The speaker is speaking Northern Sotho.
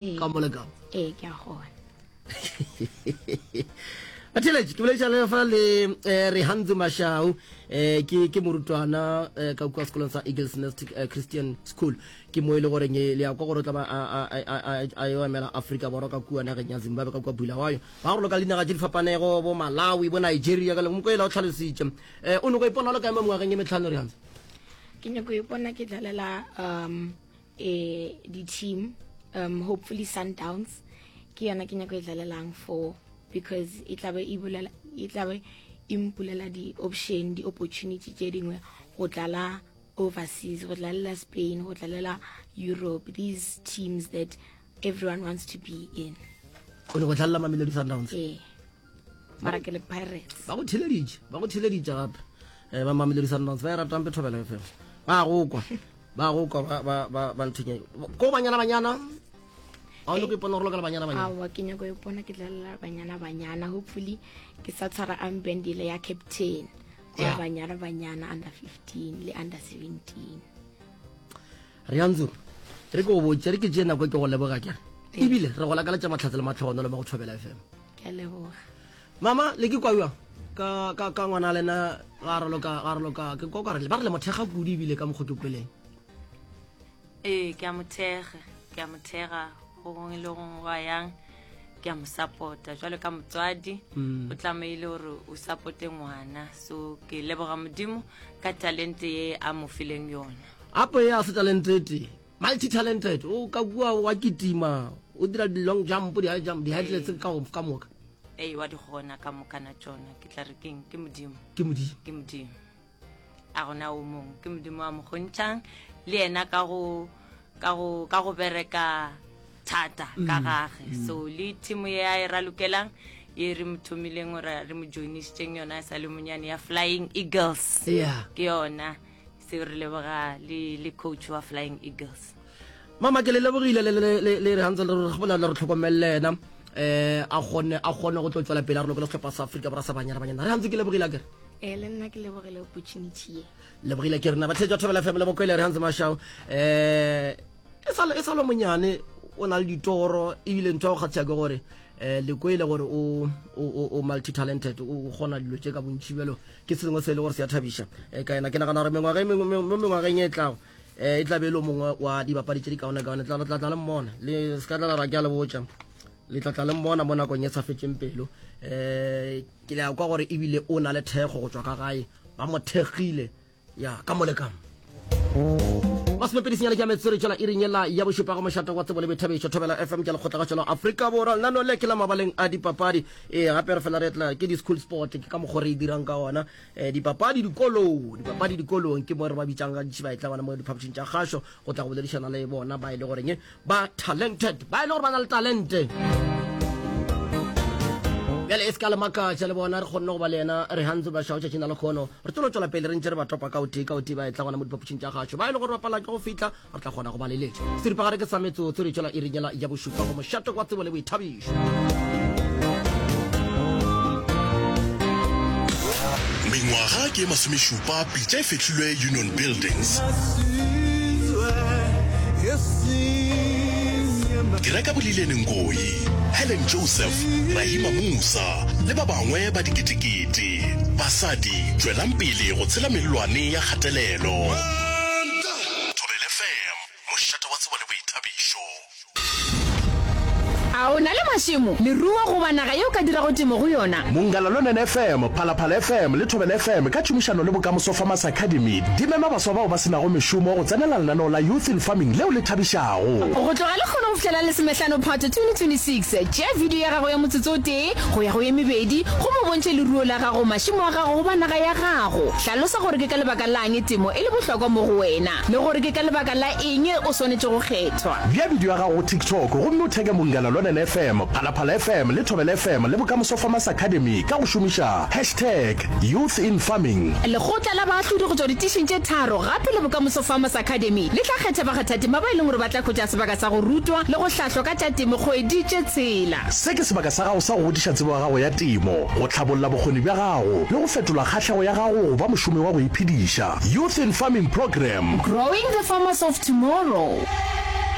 Ka mo le ka mo. Ee, ke a kgona. Batheeletši, ke boledišana le fa le eh, Rehanzu Mashau eh, ke, ke morutwana eh, ka kua sekolong sa Eagles Nest eh, Christian School. Ke mo e le goreng eh, le ya kwa gore o tla ba a, a, a, a, a, a yo emela Afrika Borwa ka kua nageng ya Zimbabwe ka kua Bulawayo. Ba go loka le dinaga tše di fapanego bo Malawi, bo Nigeria ka le moko ela o tlhalositše. Eh, o nyako ipona o le kae mo mengwageng e metlhano Rehanzu? Ke nyako ipona ke dlalela um eh di team um hopefully Sundowns ke yona ke nyako e dlalelang for because e tlabe e bulela e tlabe e mpulela di option di opportunity tše dingwe go dlala overseas go dlalela Spain go dlalela Europe these teams that everyone wants to be in o nyako dlalela Mamelodi Sundowns ee mara ke le Pirates ba go theleditše ba go theleditše gape um ba Mamelodi Sundowns ba e ratang pe Thobela FM ba go kwa ba go kwa ba ba ba ba nthunya ko banyana banyana a o nyako ipona gore lokela banyana banyana aowa ke nyako ipona ke dlalela banyana banyana hopefully ke sa tshwara armband ile ya captain ya banyana banyana under 15 le under 17 Rianzu re ke o botse re ke tšee nako ke go leboga kere ebile re go lakaletša mahlatse le matlhogonolo mo go Thobela FM ke a leboga mama le ke kwa bjang ka ka ka ngwana lena ga raloka ga raloka ke kwa ka re ba re le mothega kudu ebile ka mokgwa ke kweleng ee ke a mothega ke a mothega go gongwe le gongwe wa yang ke a mo support-a jwalo ka motswadi mm. o tlamehile gore o supporte ngwana so ke leboga modimo ka talente ye a mo fileng yona apo ye a se talente e tee multi talented o ka kua wa kitima o dira di-long jump di-high jump di-high ka ka moka ee wa di kgona ka mokana tsona ke tla re keng ke modimo ke modimo ke modimo a gona o mongwe ke modimo wa mo kgontšhang le yena ka go ka go ka go bereka thata ka mm. gage mm. so le team ye a e ralokelang ye re mo thomileng gore re mo joinisitseng yona e sa le monyane ya flying eagles yeah. ke yona seo re leboga le le coach wa flying eagles mama ke le lebogile le le le le re gantse le re gopola le re tlhokomelele ena eh a kgone a kgone go tlo tswela pele a re lokela sehlopha sa Afrika Borwa sa Banyana Banyana re gantse ke lebogile akere ee le nna ke lebogile opportunity ye lebogile ke rena batlhetša thobela fm le bokwele re gantse mashao eh e sa e sa le monyane o na le ditoro ebile ntho ya go kgatlhisa ke gore eh le kwele gore o o o multi talented o kgona dilo tše ka bontši bjalo ke se sengwe se e le gore se a thabiša eh, ka yena ke nagana gore mengwaga e mengwe mo mengwageng e tlago eh, e tla be e le mongwe wa dibapadi tše di kaone-kaone tla tla tla le mmona le se ka tla la ra ke a le botša le tla tla le mmona mo nakong e sa fetšeng pelo um ke le ya kwa gore ebile o na le thekgo go tšwa ka gae ba mo thekgile ya ka mo le ka mo masomepedi senyane ke ya metsotso re tšwela iring yela ya bošupa go mošate wa tsebo le boithabišo thobela fm ke lekgotlagašo la afrika borwa lenaneo le ke la mabaleng a dipapadi ee gape re fela re tla ke di-school sport ke ka mokgwa re e dirang ka ona um dipapadi dikolong dipapadi dikolong ke mo re ba bitsang gantši ba e tla gona mo diphapošing tša kgašo go tla go boledišana le bona ba e le goreng ba talented ba e le gore ba na le talente bjale e se ka le makatša le bona re kgonne go ba le yena re gantse ba šao tšatšing la lekgono re tlo tšwela pele re ntše re ba topa ka o tee ka o tee ba e tla gona mo diphapošing tša gašo ba e le gore bapala ke go fihla re tla kgona go ba leletša seripagare ke sa metsotso re tšwela iring yela ya bošupa go mošate wa tsebo le boithabišo Mengwaga ke e masomešupa pitša e fehlilwe Union Buildings. Ke reka Bolilene Ngoyi, Helen Joseph, Rahima Moosa le ba bangwe ba diketekete. Basadi, tšwelang pele go tshela mellwane ya kgatelelo. Thobela FM, mošate wa tsebo le boithabišo. A o na le mašemo, leruo goba naga ye o ka dirago temo go yona? Mongala Lonene FM, Phalaphala FM le Thobela FM ka tšhomišano le Bokamoso Farmers Academy di mema baswa bao ba se nago mešomo go tsenela lenaneo la Youth in Farming leo le thabišago. Go tloga lekgono go fihlela Lesomehlano Phato 2026, tšea video ya gago ya motsotso o tee go ya go ye mebedi gomme o bontšhe leruo la gago, mašemo a gago goba naga ya gago. Hlalosa gore ke ka lebaka la'ng temo e le bohlokwa mo go wena le gore ke ka lebaka la eng o swanetše go kgethwa. Bea bidio ya gago go TikTok gomme o theke Munghana Lonene FM, Phalaphala FM le Thobela FM le Bokamoso Farmers Academy ka go šomiša hashtag YouthInFarming. Lekgotla la baahlodi go tšwa ditišing tše tharo gape le Bokamoso Farmers Academy le tla kgetha bakgathatema ba e leng gore ba tla hwetša sebaka sa go rutwa le go hlahlwa ka tša temo kgwedi tše tshela. Se ke sebaka sa gago sa go godiša tsebo ya gago ya temo, go hlabolla bokgoni bja gago le go fetola kgahlego ya gago go ba mošomi wa go iphediša. Youth in Farming Programme. Growing the farmers of tomorrow.